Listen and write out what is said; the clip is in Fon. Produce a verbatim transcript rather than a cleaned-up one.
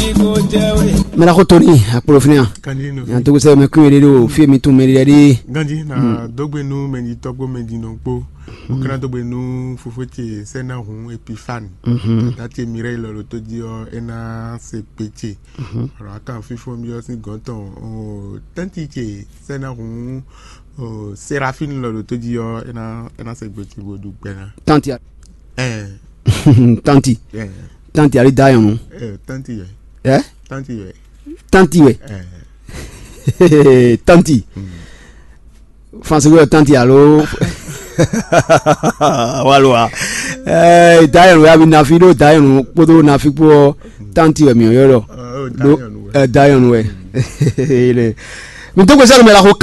Mɛ ɖaxó Tony akplɔfínɛ a? Yan tó sɛ mɛ kún yɛ ɖe ɖo fí mi tún mɛ ɖe ɖe. Ganji na dógbe nú mɛɖitɔ́ kpó mɛɖinɔ kpó. Ó ká ná dógbe nú fofó ce Sɛnahun Epifani. Tata ce Mireille lɔ ɖo tó jí ɔ́, é ná se kpé ce. Ɔlɔ akan fífó mi ɔ́ sín gɔ̌n tɔn tɛ́nti ce Sɛnahun Serafine lɔ ɖo tó jí ɔ́, é ná é ná se gbe ce bó ɖu gbɛ ná. Tanti a. Ɛɛ. Tanti. Ɛɛ. Tanti ali da yɔnu. Ɛɛ tanti yɛ. Ɛ? Tanti yɛ. Tanti wɛ. Ɛɛ. Tanti. Fansi wɛ tanti alo. Walo wa. Ɛɛ da yɔnu ya bi nafi ɖo da yɔnu kpódó nafi kpó ɔ tanti wɛ mi yɔ lɔ. Ɛɛ da yɔnu wɛ. Ɛɛ da yɔnu wɛ. Mi tó gbèsè lomɛ la xo.